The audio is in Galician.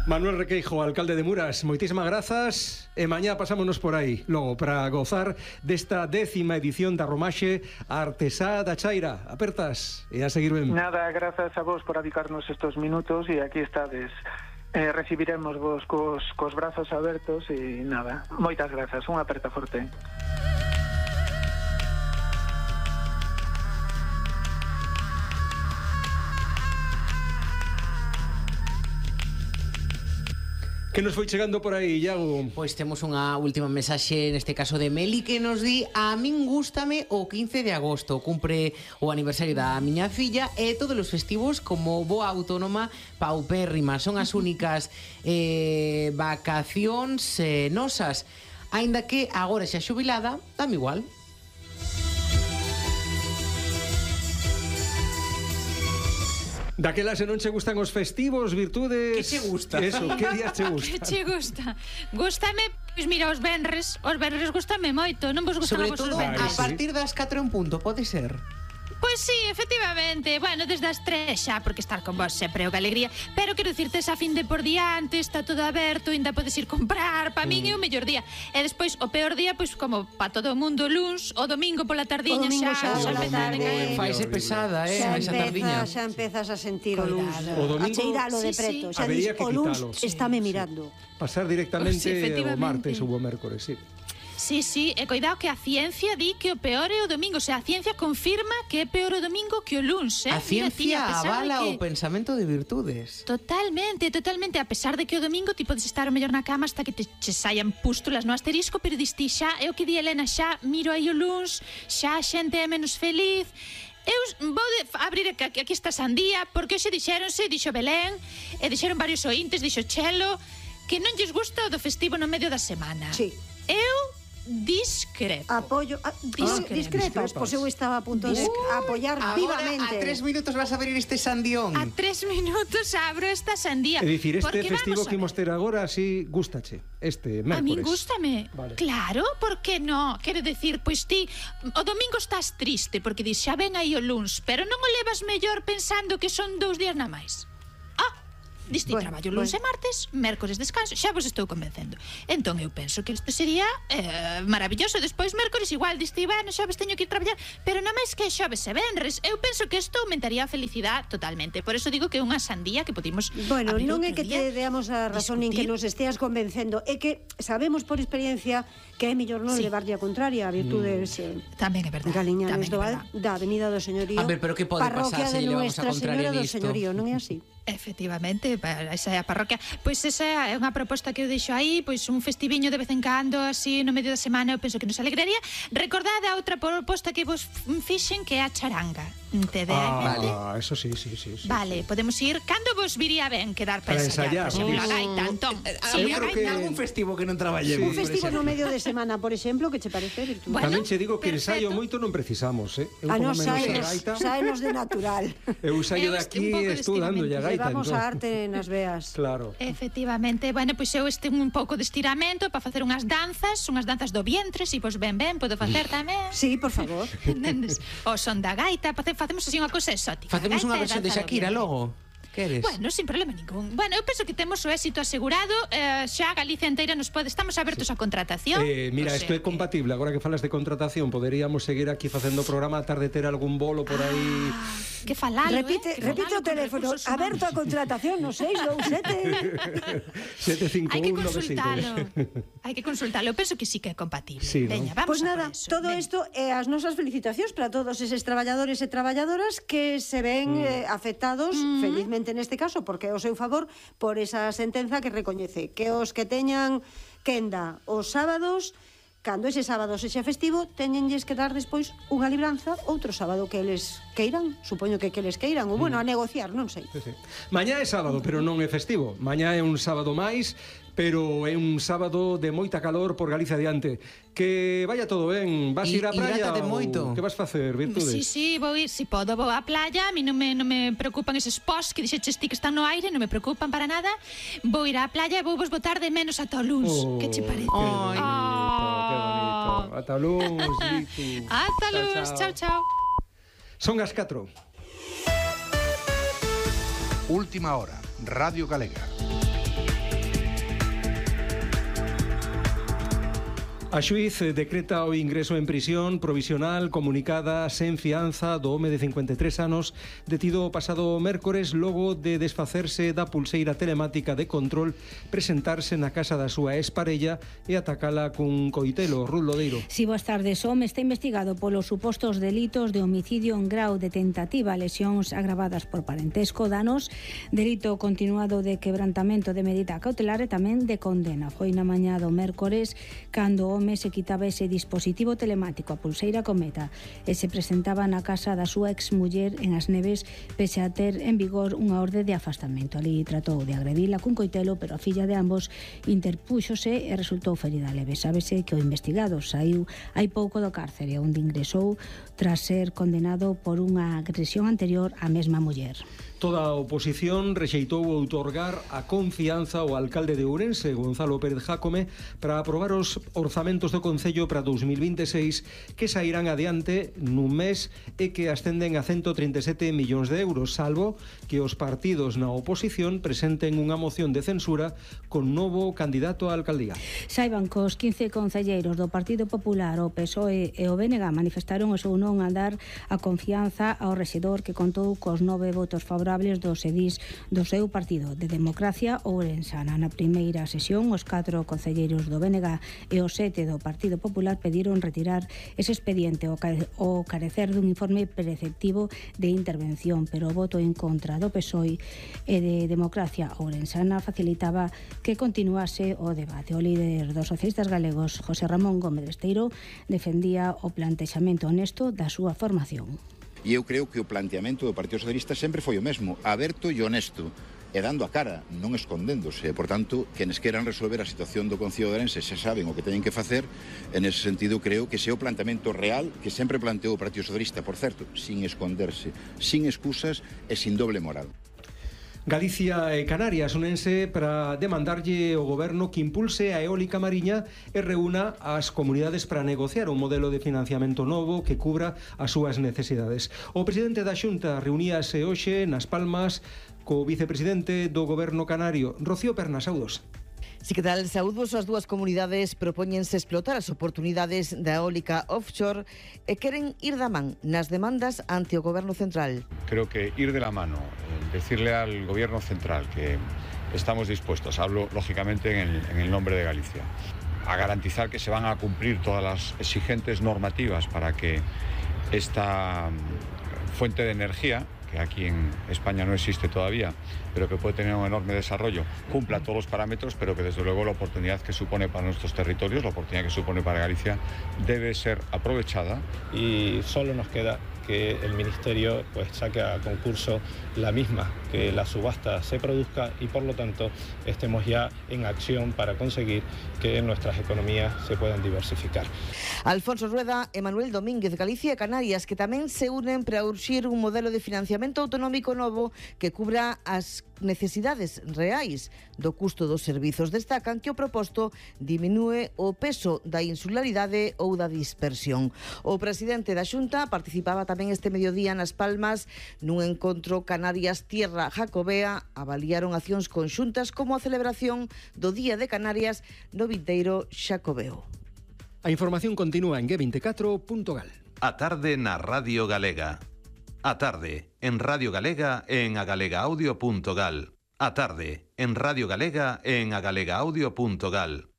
Manuel Requeijo, alcalde de Muras, moitísimas grazas e mañá pasámonos por aí logo para gozar desta 10ª edición da Romaxe Artesá da Chaira. Apertas e a seguir ben. Nada, grazas a vos por dedicarnos estos minutos e aquí estades. Recibiremos vos cos brazos abertos e nada, moitas grazas, unha aperta forte. Que nos foi chegando por aí, Iago? Pois temos unha última mensaxe, neste caso de Meli, que nos di: a min gústame o 15 de agosto, cumpre o aniversario da miña filla e todos os festivos como boa autónoma paupérrima. Son as únicas vacacións nosas, aínda que agora xa xubilada, dame igual. Daquela se non che gustan os festivos, virtudes... Que che gusta? Eso, que días che gusta? Que che gusta? Gústame, pois mira, os venres gústame moito, non vos gustan Sobre vos todo os a venres? partir das 4 en punto, pode ser? Pois sí, efectivamente. Bueno, desde as 3 xa, porque estar con vos sempre é unha alegría. Pero quero dicirte, esa fin de por diante, está todo aberto, ainda podes ir comprar. Pa min é o mellor día. E despois, o peor día, pois como pa todo o mundo, luns, o domingo pola tardiña xa empezar a caer. Faise pesada, esa tardiña. Xa empezas a sentir o luns. O domingo, a cheiralo de preto. Xa habería dis, que o luns quitalo. estáme mirando. Pasar directamente Sí, o efectivamente. martes ou o mércores, sí. Sí, sí, e coidado que a ciencia di que o peor é o domingo. O sea, a ciencia confirma que é peor o domingo que o luns, A ciencia avala o que... pensamento de virtudes. Totalmente, totalmente. A pesar de que o domingo ti podes estar o mellor na cama hasta que te saian pústulas no asterisco, pero diste xa, é o que di Elena, xa miro aí o luns, xa a xente é menos feliz. Eu vou abrir aquí esta sandía, porque hoxe dixo Belén, e dixeron varios ointes, dixo Chelo, que non lles gusta o do festivo no medio da semana. Sí. Eu discrepo. Apoio, discrepas, pois eu estaba a punto de apoiar vivamente. Agora a 3 minutos vas a abrir este sandión. A 3 minutos abro esta sandía. É dicir, este Porque festivo vamos a que imos ter agora, así, gústache, este mércores. A min gústame. Vale. Claro, por que non? Quero decir, pois ti o domingo estás triste porque dis xa ven aí o luns, pero non o levas mellor pensando que son 2 días na máis. Diste traballo luns e martes, mércores descanso, xa vos estou convencendo. Entón eu penso que isto sería maravilloso. Despois mércores igual, diste, bueno, xoves teño que ir traballar, pero non máis que xoves e venres. Eu penso que isto aumentaría a felicidade totalmente. Por eso digo que é unha sandía que podimos Bueno, abrir non é outro que día, te deamos a razón nin que nos esteas convencendo, é que sabemos por experiencia que é mellor non Sí. levarlle a contraria a virtudes Tamén é verdade. galiñanes tamén é do da Avenida do Señorío. A ver, pero que pode parroquia pasar se de llevamos a Nuestra contraria Señora do nisto? Señorío, non é así? Efectivamente, esa é a parroquia. Pois esa é unha proposta que eu deixo aí, pois un festiviño de vez en cando, así no medio da semana, eu penso que nos alegraría. Recordade a outra proposta que vos fixen, que é a charanga. Tede vale. Eso sí. Vale, podemos ir. Cando vos viría ben quedar para Para ensayar? ensayar. Por exemplo, a gaita, Antón. Sí, eu creo que- algún festivo que non traballemos. Un festivo no medio de semana, por exemplo, que che parece virtud? Bueno, Tamén che digo que ensayo perfecto. moito non precisamos, Eu A como nos menos a gaita, saenos de natural. eu ensayo Eu de aquí un pouco de estou dando a gaita. Levamos entón. a arte nas veas. Claro. Efectivamente, bueno, pois eu un pouco de estiramento para facer unhas danzas do vientre, se vos ben, podo facer tamén. Sí, por favor. Entendes? O son da gaita, facemos así unha cousa exótica. Facemos unha Gaita e versión de danza do Shakira vientre. logo. Queres? Bueno, sin problema ningún. Bueno, eu penso que temos o éxito asegurado, xa Galicia inteira nos pode, estamos abertos a contratación. Mira, O isto sea é compatible. Agora que falas de contratación, poderíamos seguir aquí facendo o programa a tarde ter algún bolo por aí. Que falalo, Repite o teléfono, aberto a contratación no 627. 751 Hai que consultalo. Hai que consultalo. Eu penso que sí que é compatible. Sí, ¿no? Veña, vamos Pois a nada, por eso. todo Veña. isto é as nosas felicitacións para todos eses traballadores e traballadoras que se ven afectados, felizmente neste caso, porque é o seu favor, por esa sentenza que recoñece que os que teñan quenda os sábados, cando ese sábado sexa festivo, teñenlles que dar despois unha libranza outro sábado que eles queiran, supoño que eles queiran, ou bueno, a negociar, non sei. Sí. Mañá é sábado, pero non é festivo. Mañá é un sábado máis, pero é un sábado de moita calor por Galicia adiante. Que vaya todo ben. Vas ir á praia hidrátate ou moito. que vas facer, virtudes? Sí, vou ir, si podo, vou á playa. A mí non me preocupan eses posts que dixeches ti que están no aire, non me preocupan para nada. Vou ir á playa e vou vos botar de menos ata o luns. Que che parece? Que bonito. Ata o luns, Vitu. Ata o luns, chao. Son as 4. Última hora, Radio Galega. A xuiz decreta o ingreso en prisión provisional comunicada sen fianza do home de 53 anos detido o pasado mércores logo de desfacerse da pulseira telemática de control, presentarse na casa da súa exparella e atacala cun coitelo. Ruth Lodeiro. Si, boas tardes. O home está investigado polos supostos delitos de homicidio en grau de tentativa, lesións agravadas por parentesco, danos, delito continuado de quebrantamento de medida cautelar e tamén de condena. Foi na mañá do mércores cando o home se quitaba ese dispositivo telemático, a pulseira Cometa, e se presentaba na casa da súa exmuller en As Neves, pese a ter en vigor unha orde de afastamento. Ali tratou de agredila cun coitelo, pero a filla de ambos interpúxose e resultou ferida leve. Sábese que o investigado saiu hai pouco do cárcere, onde ingresou tras ser condenado por unha agresión anterior á mesma muller. Toda a oposición rexeitou outorgar a confianza ao alcalde de Ourense, Gonzalo Pérez Jácome, para aprobar os orzamentos do Concello para 2026 que sairán adiante nun mes e que ascenden a 137 millóns de euros, salvo que os partidos na oposición presenten unha moción de censura con novo candidato á alcaldía. Saiban que os 15 concelleiros do Partido Popular, o PSOE e o BNG manifestaron o seu non a dar a confianza ao rexedor que contou cos 9 votos favorables dos edís do seu partido de Democracia ourensana. Na primeira sesión, os 4 concelleiros do BNG e os 7 do Partido Popular pediron retirar ese expediente ao carecer dun informe preceptivo de intervención, pero o voto en contra do PSOE e de Democracia ourensana facilitaba que continuase o debate. O líder dos socialistas galegos, José Ramón Gómez Besteiro, defendía o plantexamento honesto da súa formación. E eu creo que o planteamento do Partido Socialista sempre foi o mesmo, aberto e honesto, e dando a cara, non escondéndose. Por tanto, quenes queran resolver a situación do Concello de Ourense xa saben o que teñen que facer. En ese sentido, creo que ese é o planteamento real que sempre planteou o Partido Socialista, por certo, sin esconderse, sin excusas e sin doble moral. Galicia e Canarias únense para demandarlle ao goberno que impulse a eólica mariña e reúna as comunidades para negociar un modelo de financiamento novo que cubra as súas necesidades. O presidente da Xunta reuníase hoxe nas Palmas co vicepresidente do goberno canario, Rocío Perna. Saudos. Si, que tal? Saúdos. As dúas comunidades propóñense explotar as oportunidades da eólica offshore e queren ir da man nas demandas ante o Goberno Central. Creo que ir de la mano, decirle al Gobierno Central que estamos dispuestos, hablo lógicamente en el nombre de Galicia, a garantizar que se van a cumplir todas las exigentes normativas para que esta fuente de energía, que aquí en España no existe todavía, pero que puede tener un enorme desarrollo, cumpla todos los parámetros, pero que desde luego la oportunidad que supone para nuestros territorios, la oportunidad que supone para Galicia, debe ser aprovechada. Y solo nos queda que el Ministerio pues saque a concurso la misma, que la subasta se produzca y por lo tanto estemos ya en acción para conseguir que nuestras economías se puedan diversificar. Alfonso Rueda e Manuel Domínguez, Galicia e Canarias, que tamén se unen para urxir un modelo de financiamento autonómico novo que cubra as necesidades reais do custo dos servizos. Destacan que o proposto diminúe o peso da insularidade ou da dispersión. O presidente da Xunta participaba tamén este mediodía nas Palmas nun encontro Canarias Tierra Jacobea. Avaliaron accións conxuntas como a celebración do Día de Canarias no vindeiro Xacobeo. A información continúa en g24.gal. A tarde na Radio Galega. A tarde en Radio Galega e en agalegaudio.gal. A tarde en Radio Galega e en agalegaudio.gal.